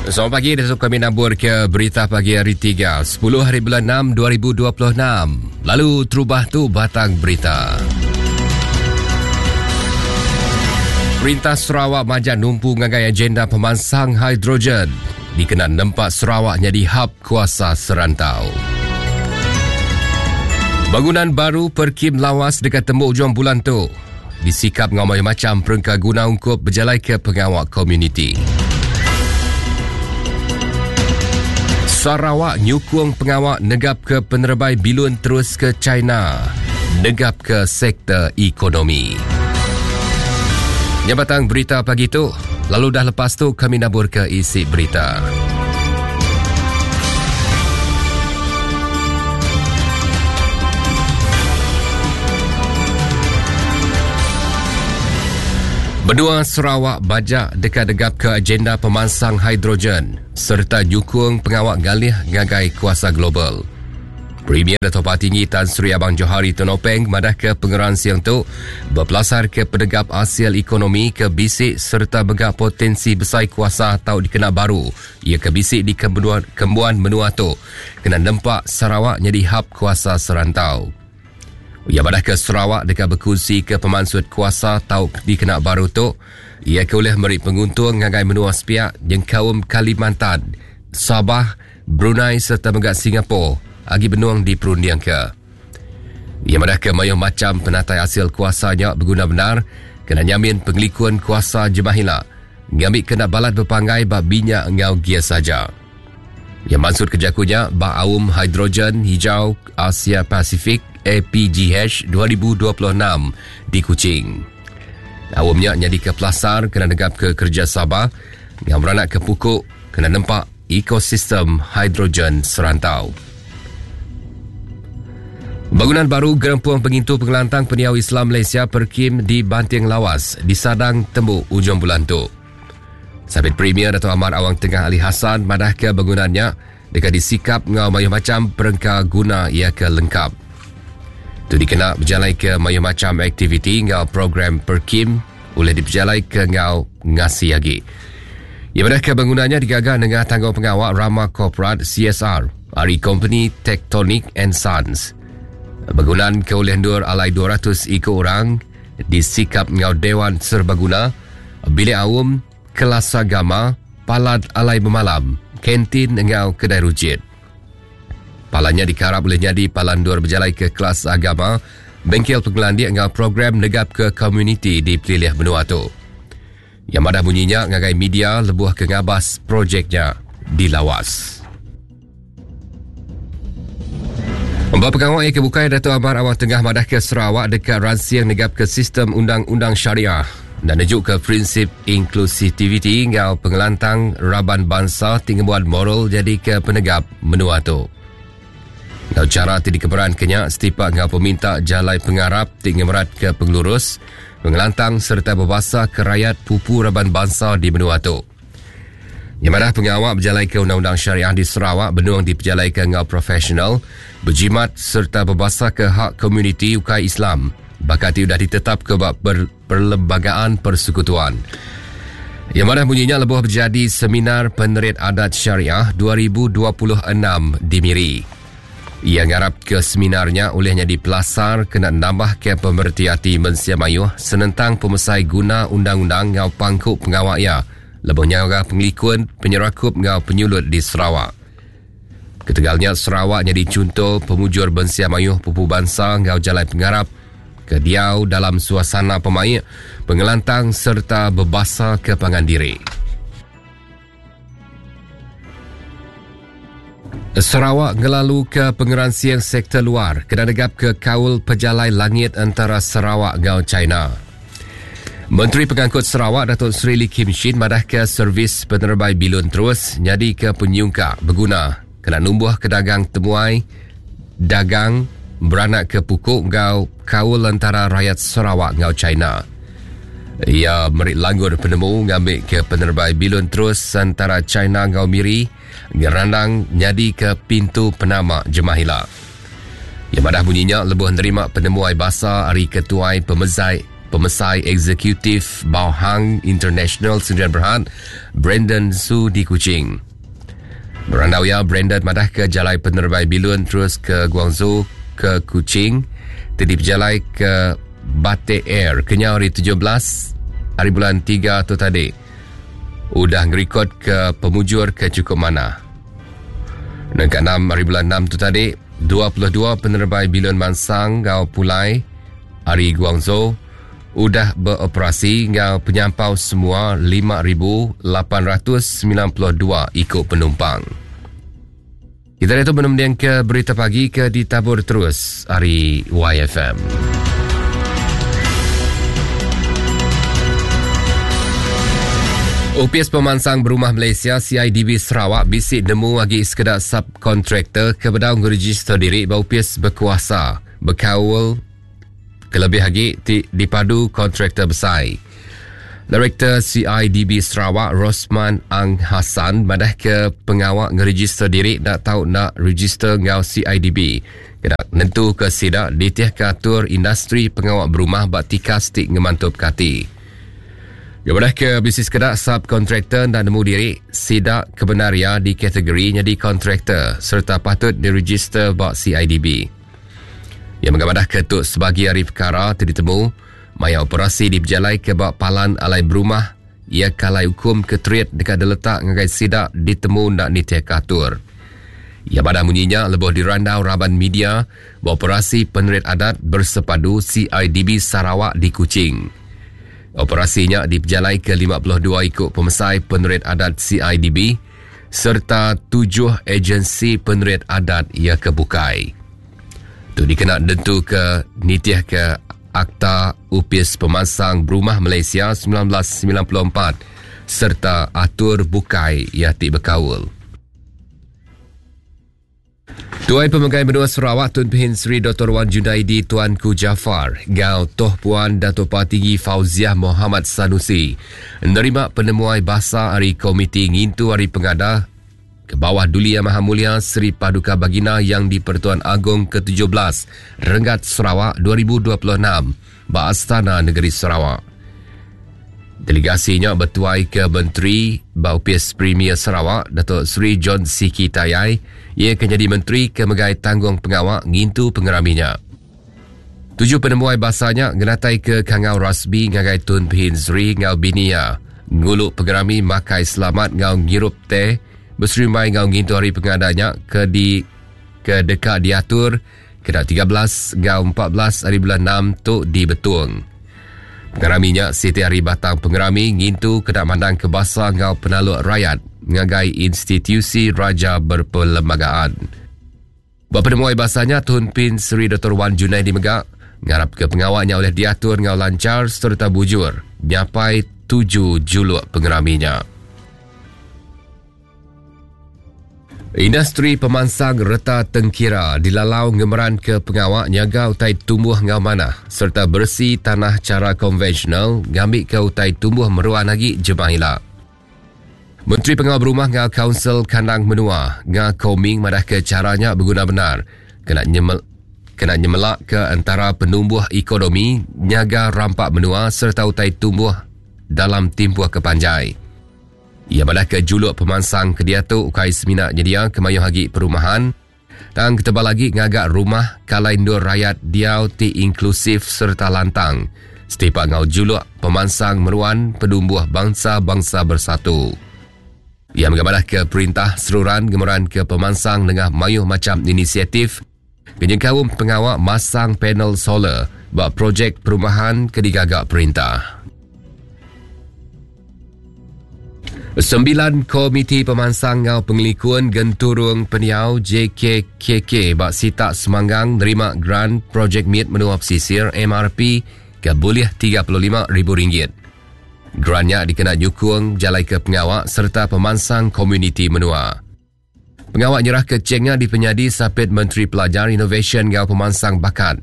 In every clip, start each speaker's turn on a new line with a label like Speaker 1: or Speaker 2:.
Speaker 1: Selamat pagi, Datuk kami nabur ke berita pagi hari 3, 10 hari bulan 6 2026. Lalu terubah tu batang berita. Perintah Sarawak majak numpu ngagai agenda pemansang hidrogen dikena nempa Sarawak nyadi hub kuasa serantau. Bangunan baru Perkim Lawas dekat temu ujung bulan tu disikap ngau macam perengka guna ungkup berjalai ke pengawal komuniti. Sarawak nyukung pengawal negap ke penerbai bilun terus ke China. Negap ke sektor ekonomi. Nyabatang berita pagi tu, lalu dah lepas tu kami nabur ke isi berita. Benua Sarawak bajak dekat degap ke agenda pemansang hidrogen serta nyukung pengawal galih ngagai kuasa global. Premier Dato' Patinggi Tan Sri Abang Johari Tun Openg madah ke pengeran siang tu berpelasar ke penegap hasil ekonomi ke bisik serta begak potensi besar kuasa atau dikena baru ia ke bisik di kembuan, kembuan menua tu kena nempak Sarawak jadi hub kuasa serantau. Ia madah ke Sarawak dekat berkongsi ke pemansut kuasa tau dikena baru tu ia ke boleh meri penguntung ngagai menua sepiak jengkaum Kalimantan, Sabah, Brunei serta megak Singapura agi benuang di perundiang ke. Ia madah ke mayuh macam penatai hasil kuasanya berguna benar kena nyamin pengelikun kuasa jemahila ngambil kena balat berpanggai bak minyak ngau gia saja. Yang maksud kejakunya bak aum hidrogen hijau Asia Pasifik APGH 2026 di Kuching. Aumnya jadi ke pelasar kena negap ke kerja Sabah yang beranak ke pukuk kena nempak ekosistem hidrogen serantau. Bangunan baru Gerempung Pengintu Pengelantang Peniau Islam Malaysia Perkim di Banting Lawas disadang temu ujung bulan tu. Sabit Premier Dato' Amar Awang Tengah Ali Hassan madah ke bangunannya dekat disikap ngau mayuh macam perengka guna ia ke lengkap. Tu dikena berjalai ke mayuh macam aktiviti ngau program Perkim boleh diperjalai ke ngau ngasi lagi. Ia madah ke bangunannya digaga dengan tanggung pengawal Rama Corporate CSR ari company Tectonic and Sons. Bangunan ke oleh ndur alai 200 ikut orang disikap ngau Dewan Serbaguna, bilik awam, kelas agama, palat alai bermalam, kantin ngau kedai rujit. Palannya dikarap boleh jadi palan dur berjalai ke kelas agama, bengkel pengelandik ngau program negap ke komuniti di pelilih benua tu. Yang madah bunyinya ngagai media lebuh ke ngabas projeknya di Lawas. Mbak pengawal yang kebukai Dato' Amar Awang Tengah madah ke Sarawak dekat ransiang negap ke sistem undang-undang syariah dan nejuk ke prinsip inklusiviti ngau pengelantang raban bangsa tinggi buat moral jadi ke penegap menua tu. Ngau cara ti dikeberan kenyak setipak ngau peminta jalai pengarap tinggi merat ke pengelurus, pengelantang serta berbahasa ke rakyat pupu raban bangsa di menua tu. Yang madah pengawal berjalai ke Undang-Undang Syariah di Sarawak benuang diperjalai ke ngau profesional, berjimat serta berbahasa ke hak komuniti ukai Islam. Bakati sudah ditetap ke bab per, Perlembagaan Persekutuan. Yang mana bunyinya lebuh berjadi Seminar Penerit Adat Syariah 2026 di Miri. Ia ngarap ke seminarnya olehnya di pelasar kena nambah ke pemerhati mensia mayuh senentang pemesai guna undang-undang ngau pangku pengawal ia lebuh nyaga pengelikun penyerakup ngau penyulut di Sarawak. Ketegalnya Sarawak jadi contoh pemujur bensia mayuh pupu bangsa ngau jalai pengarap ke diau dalam suasana pemaik, pengelantang serta berbahasa ke pangan diri. Sarawak ngelalu ke pengeransian sektor luar kena negap ke kaul pejalai langit antara Sarawak ngau China. Menteri Pengangkut Sarawak Datuk Seri Lee Kim Shin madah ke servis penerbai bilun terus nyadi ke penyungkak berguna kena numbuh ke dagang temuai dagang beranak ke pukuk ngau kaul antara rakyat Sarawak ngau China. Ia merik langgur penemu ngambil ke penerbai bilun terus antara China ngau Miri ngerandang nyadi ke pintu penama Jemahila. Yang madah bunyinya lebuh nerima penemuai basa hari ketuai pemezai. Pemesai Eksekutif Baohang International Sendirian Berhad, Brandon Su di Kuching. Berandau iya, Brandon madahka jalai penerebai bilun terus ke Guangzhou ke Kuching ti dipejalai ke Batik Air kenyau hari 17 hari bulan 3 tu tadi udah ngerikodka pemujur ke chukup manah. Nengka 6 hari bulan 6 tu tadi, 22 penerebai bilun mansang enggau pulai ari Guangzhou udah beoperasi enggau penyampau semua 5,892 iku penumpang. Kita diatu menemdingka berita pagi ke ditabur terus ari YFM. Opis Pemansang Berumah Malaysia CIDB Sarawak bisi nemu agi sekeda subkontraktor ke bedau ngerejister diri ba opis bekuasa bekaul kelebih agi ti dipadu kontraktor besai. Direktor CIDB Sarawak Rosman Ang Hassan madahka pengawa ngerejister diri enda tau enda rejister enggau CIDB kena nentuka sida nitihka atur industri pengawa berumah ba tikas ti ngemantupka ati. Iya madahka bisi sekeda subkontraktor enda nemu diri sida kebendar iya dikategori nyadi kontraktor sereta patut direjister ba CIDB. Iya mega madahka tu sebagi ari pekara ti ditemu maya operasi dipejalaika ba palan alai berumah iya ke alai ukum ke terit deka diletak ngagai sida ditemu enda nitihka atur. Iya madah munyi nya lebuh dirandau raban media ba Operasi Penerit Adat Bersepadu CIDB Sarawak di Kuching. Operasi nya dipejalaika 52 iku pemesai penerit adat CIDB sereta tujuh ejensi penerit adat iya ke bukai. Tu dikena nentuka nitihka Akta Opis Pemansang Berumah Malaysia 1994 sereta atur bukai iya ti bekaul. Tuai Pemegai Menua Sarawak Tun Pehin Sri Dr. Wan Junaidi Tuanku Jaafar enggau Toh Puan Dato Patinggi Fauziah Mohamad Sanusi nerima penemuai basa ari Komiti Ngintu Hari Pengada ke bawah Duli Yang Maha Mulia Seri Paduka Baginda Yang di-Pertuan Agong ke-17 Renggat Sarawak 2026 ba Astana Negeri Sarawak. Delegasi nya betuai ke Menteri ba Opis Premier Sarawak Datuk Seri John Sikie Tayai iya ke nyadi menteri ke megai tanggung pengawa ngintu pengerami nya. Tuju penemuai basa nya ngenataika kangau rasmi ngagai Tun Pehin Sri enggau bini iya ngulu pengerami makai selamat enggau ngirup teh beserimbai enggau ngintu hari pengada nya ke di ke deka diatur kena 13 enggau 14 hari bulan 6 tu di Betong. Pengerami nya siti ari batang pengerami ngintu kena mandangka basa enggau penaluk rayat ngagai institusi Raja Berperlembagaan. Ba penemuai basa nya, Tun Pin Sri Doktor Wan Junaidi mega ngarapka pengawa nya ulih diatur enggau lanchar sereta bujur nyapai tuju juluk pengerami nya. Industri pemansang reta tengkira dilalau ngemeranka pengawa nyaga utai tumbuh enggau manah sereta beresi tanah chara konvensional ngambika utai tumbuh meruan agi jemah ila. Menteri Pengawa Berumah enggau Kaunsil Kandang Menua, Nga Kor Ming madahka chara nya beguna bendar kena nyemel kena nyemelaka entara penumbuh ekonomi, nyaga rampa menua sereta utai tumbuh dalam timpuh ke panjai. Iya madahka juluk pemansang ke diatu ukai semina nyediaka mayuh agi perumahan tang ketebal agi ngaga rumah ke alai endur rayat diau ti inklusif sereta lantang setipak enggau juluk pemansang meruan penumbuh bangsa-bangsa bersatu. Iya mega madahka perintah seruran ngemeranka pemansang nengah mayuh macham inisiatif ke nyengkaum pengawa masang panel solar ba projek perumahan ke digaga perintah. Sembilan Komiti Pemansang enggau Pengelikun Genturung Pendiau JKKK ba sitak Semanggang nerima grant Projek Mit Menua Pesisir MRP ke bulih RM35,000. Grant nya dikena nyukung bejalaika pengawa sereta pemansang komuniti menua. Pengawa nyerahka chek nya dipenyadi Sapit Menteri Pelajar, Inovasyen enggau Pemansang Bakat.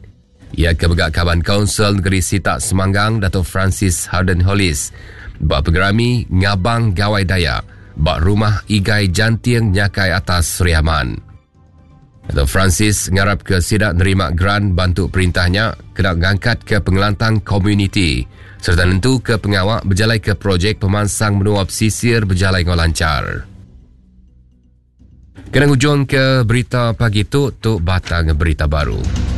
Speaker 1: Iya ke mega Kaban Kaunsil Negeri Sitak Semanggang Dato Francis Harden Hollis ba pengerami Ngabang Gawai Dayak ba Rumah Igai Janting Nyakai Atas Sri Aman. Dato Francis ngarap ke sida nerima geran bantu perintah nya kena ngangkatka pengelantang komuniti sereta nentuka pengawa bejalaika projek pemansang menua pesisir bejalai enggau lanchar. Kena ngujungka berita pagi tu, tu batang berita baru.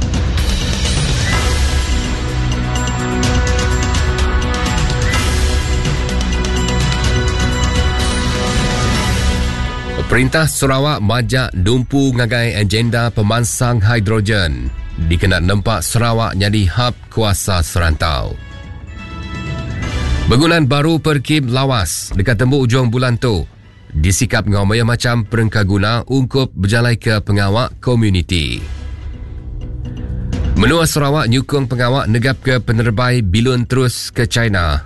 Speaker 1: Perintah Sarawak majak numpu ngagai agenda pemansang hidrogen dikena nempa Sarawak nyadi hub kuasa serantau. Begunan baru Perkim Lawas deka tembu ujung bulan tu disikap enggau mayuh macham perengkaguna ungkup bejalaika pengawa komuniti. Menua Sarawak nyukung pengawa negapka penerebai bilun terus ke China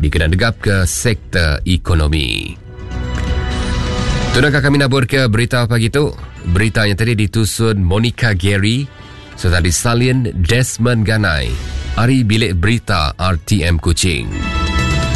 Speaker 1: dikena negapka sektor ekonomi. Tunaka kami nabur ke berita pagi tu. Berita yang tadi ditusun Monica Gary serta disalin Desmond Ganai ari Bilik Berita RTM Kuching.